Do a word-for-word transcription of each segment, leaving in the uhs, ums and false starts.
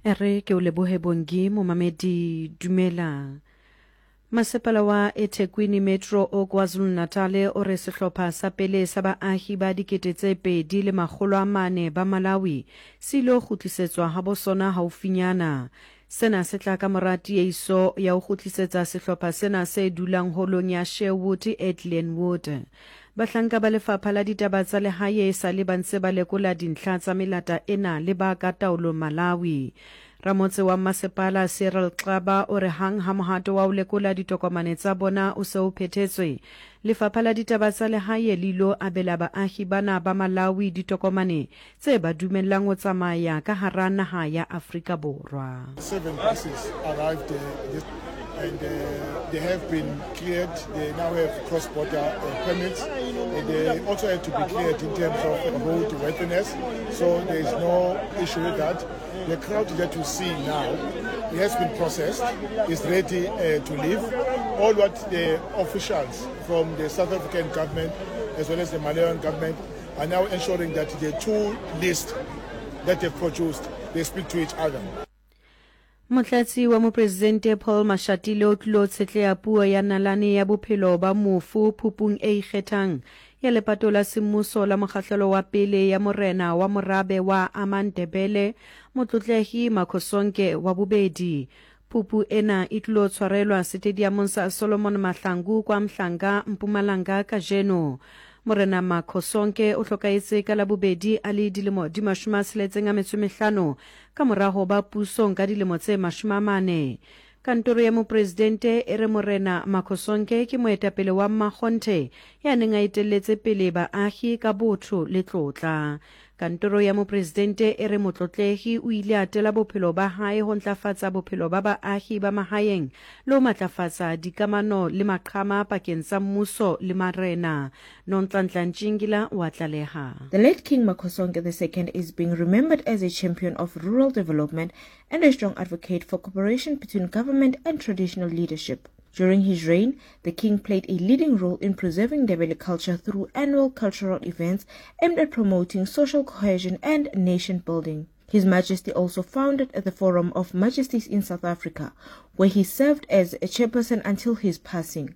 Re ke o lebohe Bongi momamedi dumela. Masepala wa eThekwini Metro o KwaZulu-Natal o re sehlopha sa pele sa baahi ba dikete tse pedi le makgolo a mane ba Malawi se ilo kgutlisetswa habo sona haufinyana. Sena se tla ka mora tieiso ya ho kgutlisetsa sehlopha sena se dulang holong ya Sherwood e Glenwood. Bahlanka ba lefapha la ditaba tsa lehae e sa le ba ntse ba lekola dintlha tsa melata ena le ba ka taolong Malawi. Ramotse wa masepala Cyril Xaba o re hang ha mohato wa ho lekola ditokomane tsa bona o se o phethetswe, lefapha la ditaba tsa lehae le ilo abela baahi bana ba Malawi ditokomane tse ba dumellang ho tsamaya ka hara naha ya Afrika Borwa. Seven buses arrived uh, this, and uh, they have been cleared. They now have cross-border uh, permits. And they also have to be cleared in terms of road worthiness. So there is no issue with that. The crowd that you see now, it has been processed, is ready uh, to leave. All what the officials from the South African government as well as the Malawian government are now ensuring that the two lists that they've produced, they speak to each other. Motlatsi wa mopresidente Paul Mashatile o tlilo tshetleha puo ya nalane ya bophelo ba mofu phupung e ikgethang ya lepato la semmuso la mokgahlelo wa pele ya morena wa morabe wa Amandebele Motlotlehi Makhosonke wa bobedi. Phupu ena e tlilo tshwarelwa setediamong sa Solomon Mahlangu kwa Mhlanga, Mpumalanga kajeno. Morena Makhosonke o hlokahetse ka Labobedi a le dilemo di mashome a tsheletseng a metso e mehlano ka mora ho ba pusong ka dilemo tse mashome a mane. Kantoro ya mopresidente e re Morena Makhosonke ke moetapele wa mmakgonthe ya neng a etelletse pele baahi ka botho le tlotla. Kantoro ya mopresidente e re motlotlehi o ile a tela bophelo ba hae ho ntlafatsa bophelo ba baahi ba mahaeng le ho matlafatsa dikamano le maqhama pakeng tsa mmuso le marena. Nonhlanhla Ntshingila wa tlaleha. The late King Makhosonke the Second is being remembered as a champion of rural development and a strong advocate for cooperation between government and traditional leadership. During his reign, the king played a leading role in preserving Ndebele culture through annual cultural events aimed at promoting social cohesion and nation building. His Majesty also founded the Forum of Majesties in South Africa, where he served as a chairperson until his passing.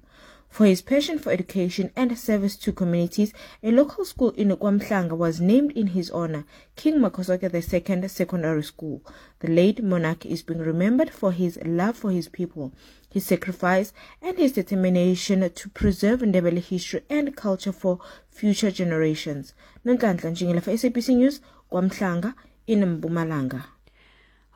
For his passion for education and service to communities, a local school in KwaMhlanga was named in his honor, King Makhosonke the Second Secondary School. The late monarch is being remembered for his love for his people, his sacrifice, and his determination to preserve Ndebele history and culture for future generations. Nonhlanhla Ntshingila for S A B C News, KwaMhlanga in Mpumalanga.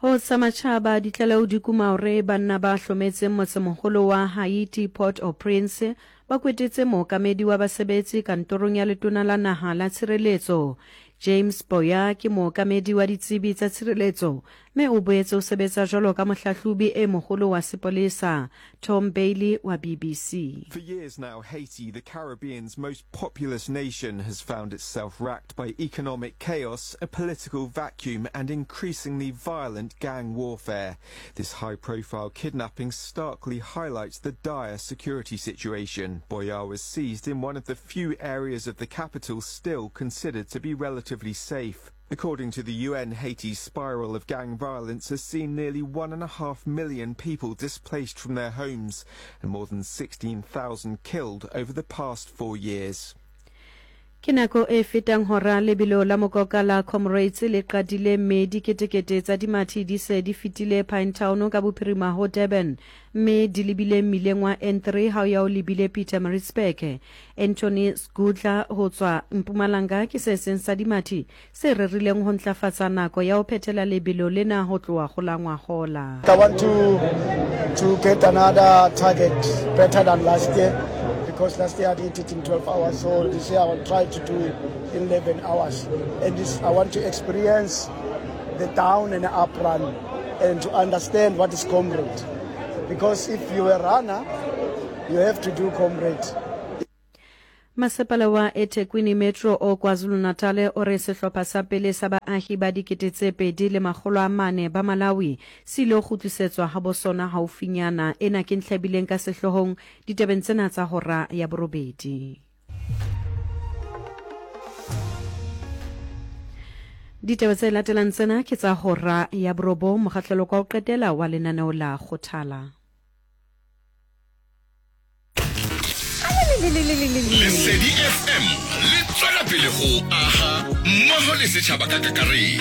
Ho tsa matjhaba ditlaleho di kuma hore banna ba hlometseng motsemoholo wa Haiti Port-au-Prince ba kwetetse mookamedi wa basebetsi kantorong ya letona la naha la tshireletso. James Boya ke mookamedi wa ditsebi tsa tshireletso mme o boetse o sebetsa jwalo ka mohlahlobi e moholo wa sepolesa. Tom Bailey wa B B C. For years now, Haiti, the Caribbean's most populous nation, has found itself racked by economic chaos, a political vacuum and increasingly violent gang warfare. This high-profile kidnapping starkly highlights the dire security situation. Boyar was seized in one of the few areas of the capital still considered to be relatively safe. According to the U N, Haiti's spiral of gang violence has seen nearly one and a half million people displaced from their homes and more than sixteen thousand killed over the past four years. Ke nako e fetang hora lebelo la mokoka la Comrades le qadile mme diketekete tsa dimathi di se di fetile Pinetown ka bophirima ho Durban mme di lebile mmileng wa N three ha o ya o lebile Pietermaritzburg. Anthony Sgudla ho tswa Mpumalanga ke se seng sa dimathi se rerileng ho ntlafatsa nako ya ho phethela lebelo lena ho tloha ho la ngwahola. I want to, to get another target better than last year, because last year I did it in twelve hours, so this year I will try to do it in eleven hours. And this, I want to experience the down and up run and to understand what is comrade. Because if you're a runner, you have to do comrade. Masepala wa eThekwini Metro o KwaZulu-Natal o re sehlopha sa pele sa baahi ba dikete tse pedi le makgolo a mane ba Malawi se ile kgutlisetswa habo sona haufinyana. Ena ke ntlha e bileng ka sehloohong ditabeng tsena tsa hora ya borobedi. Ditaba tse latelang tsena ke tsa hora ya borobong, mokgahlelo kwa ho qetela wa lenaneo la Kgothala. Lesedi F M le tswela pele ho aha mmoho le setjhaba ka kakaretso.